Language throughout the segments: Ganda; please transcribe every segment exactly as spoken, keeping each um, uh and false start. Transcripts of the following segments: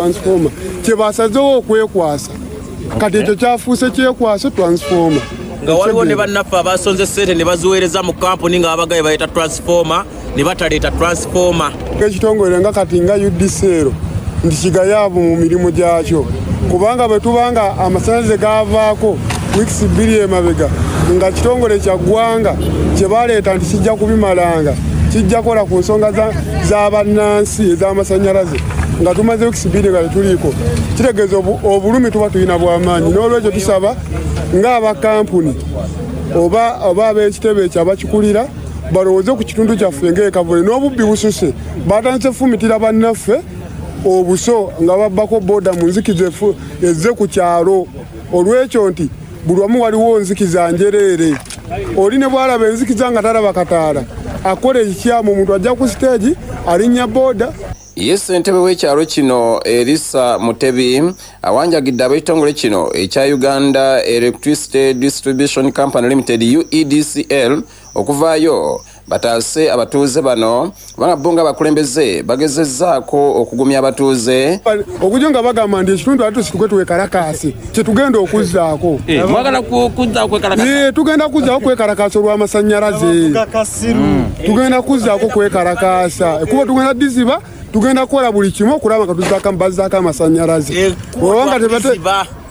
Transformer kyebasazewo okwekwasa. Kati ekyo kyafuuse kyekwasa transformer. Nga waliwo ne bannaffe abasonze ssente ne baziweereza mu kampuni nga babagaye baleeta transformer ne bataleeta transformer. Ekitongole nga kati nga U D C L nti kigayaavu mu mirimu gyakyo, kubanga bwe tubanga amasannyalaze gavaako wiikisi bbiri emabega, nga kitongole kya ggwanga kye baleeta nti kijja kubimalanga, kijja kukola ku nsonga z'abannansi ez'amasannyalaze, nga tumaze wiikisi bbiri nga tetuliiko, kitegeeza obulumi tuba tulina bw'amaanyi. N'olwekyo tusaba ng'abakampuni oba oba ab'ekitebe ekyo abakikulira balowooze ku kitundu kyaffe ng'ekavule. N'obubbi bususe, batandise fumitira bannaffe obuso nga babbako boda mu nzikiza ezze ku kyalo. Olwekyo nti buli wamu waliwo nzikiza njereere, oli ne bwalaba enzikiza nga talaba kataala, akola ekikyamu, omuntu ajja ku siteegi alinnya boda. Ye ssentebe w'ekyalo kino Erisa Mutebi awanjagidde ab'ekitongole kino ekya Uganda Electricity Distribution Company Limited, U E D C L, okuvaayo bataase abatuuze bano, kubanga bo nga abakulembeze bagezezzaako okugumya abatuuze. Okujja nga bagamba nti ekitundu ate tusituke twekalakaase, kyetugenda okuzzaako. Eh, mwagala kuzzaako kwekalakaasa? Eh, tugenda kuzzaako kwekalakaasa olw'amasannyalaze. Tugenda kuzzaako kwekalakaasa, ekubo tugenda diziba, tugenda kukola buli kimu okulaba nga tuzzaako, bazzaako amasannyalaze.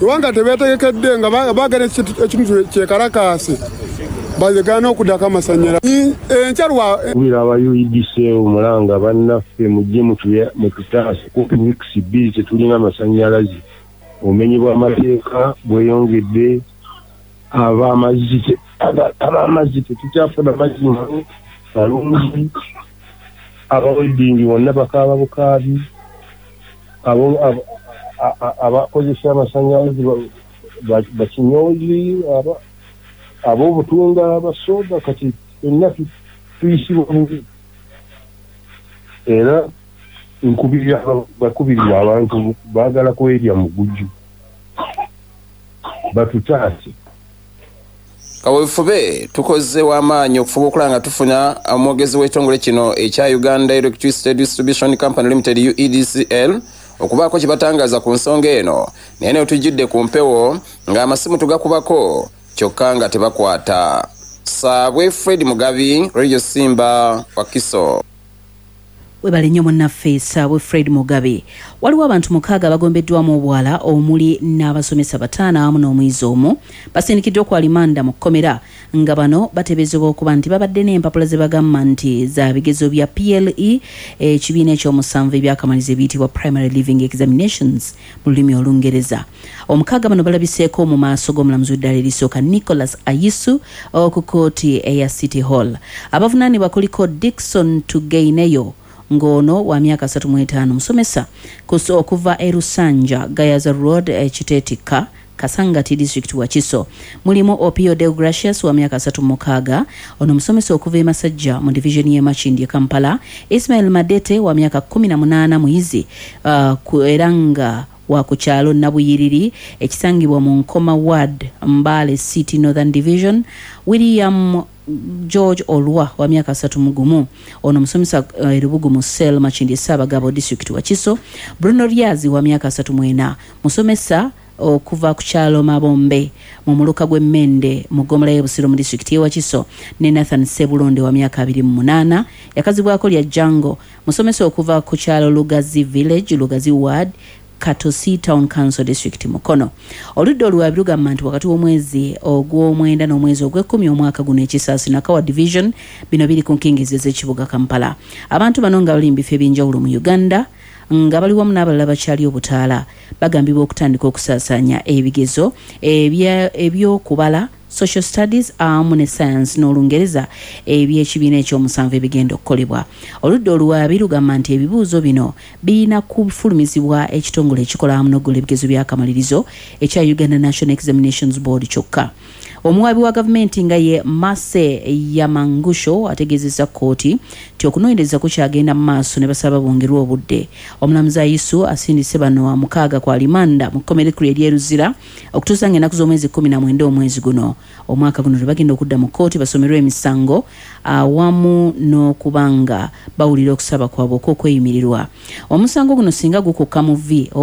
Obanga tebeetegekedde nga baagala ekintu kyekalakaase, bazegaana okuddako amasannyalaze enkya lwa Kubira aba U E D C omulanga, bannaffe, mujje mututaase. Kumpi wiikisi bbiri tetulina amasannyalaze. Obumenyi bw'amateeka bweyongedde, abamazzi abamazzi tetukyafuna mazzi malungi, abaweddingi bonna bakaaba bukaabi, abakozesa amasannyalaze bakinyoozi, ab'obutunga, abasoda, kati fenna tuyisibwa bubi. Era bakubirira abantu baagala kwerya mugujju, batutaase. Kaweefube tukoze w'amaanyi okufuba okulaba nga tufuna omwogezi w'ekitongole kino ekya Uganda Electricity Distribution Company Limited, U E D C L, okubaako kye batangaaza ku nsonga eno, naye ne tujjidde ku mpewo ng'amasimu tugakubako kyokka nga tebakwata. Saabwe Fred Mugabi, Radio Simba, Wakiso. Webale nnyo munnaffe Saabwe Fred Mugabe. Waliwo abantu mukaaga abagombeddwamu obwala, omuli n'abasomesa bataano awamu n'omuyizi omu, basindikiddwa ku alimanda mu kkomera, nga bano bateeberezebwa okuba nti babadde n'empapula ze bagamba nti za bigezo bya P L E ekibiina ekyomusanvu ebyakamaliza ebiyitibwa Primary Leaving Examinations mu lulimi Olungereza. Omukaaga bano balabiseeko mu maaso g'omulamuzi w'eddala erisooka Nicholas Ayisu ku kooti eya City Hall. Abavunaanibwa kuliko Dickson Tugeineyo, ng'ono wa myaka asatu mu etaano, musomesa okuva e Lusanja, Gayaza Road, Kiteetikka, Kasangati District, Wakiso. Mulimu Opio Deogracius wa myaka asatu mu mukaaga, ono musomesa okuva e Masajja mu division y'e Makindye, Kampala. Ismail Madete wa myaka kkumi na munaana, muyizi uh, era nga wa ku kyalo Nabuyiriri ekisangibwa mu Nkoma Ward, Mbale City Northern Division. William George Olwa wa myaka asatu mu gumu, ono musomesa uh, erubugu mu cell, Makindye Ssaabagabo District, Wakiso. Bruno Ryazi wa myaka asatu mu ena, musomesa okuva ku kyalo Mabombe mu muluka gw'Emmende mu ggomola y'e Busiro mu disitulikiti y'e Wakiso, ne Nathan Sebulonde wa myaka abiri mu munaana, yakazibwako lya Jango, musomesa okuva ku kyalo Lugazi Village, Lugazi Ward, Katosi Town Council District, Mukono. Oludda oluwaabi lugamba nti wakati w'omwezi ogw'omwenda n'omwezi ogw'ekkumi omwaka guno, Ekisaasi, Nakawa Division, bino biri ku nkingizi ez'ekibuga Kampala, abantu bano nga bali mu bifo ebyenjawulo mu Uganda nga bali wamu n'abalala bakyali obutaala, bagambibwa okutandika okusaasaanya ebigezo ebyokubala, social studies awamu ne science n'Olungereza ebyekibiina ekyomusanvu ebigenda okukolebwa. Oludda oluwaabi lugamba nti ebibuuzo bino birina kufulumizibwa ekitongole ekikola wamu n'okugola ebigezo by'akamalirizo ekya Uganda National Examinations Board kyokka. Omuwaabi wa gavumenti nga ye Mase Yamangusho ategeezezza kkooti nti okunoonyereza kukyagenda mu maaso ne basaba bongerwe obudde. Omulamuzi Ayisu asindise bano mukaaga ku alimanda mu kkomera ekkulu ery'e Luzira okutuusa nga ennaku z'omwezi kkumi na mwenda omwezi guno omwaka guno lwe bagenda okudda mu kkooti basomerwe emisango awamu n'okuba nga bawulira okusaba kwabwe okw'okweyimirirwa. Omusango guno singa gukukka mu vi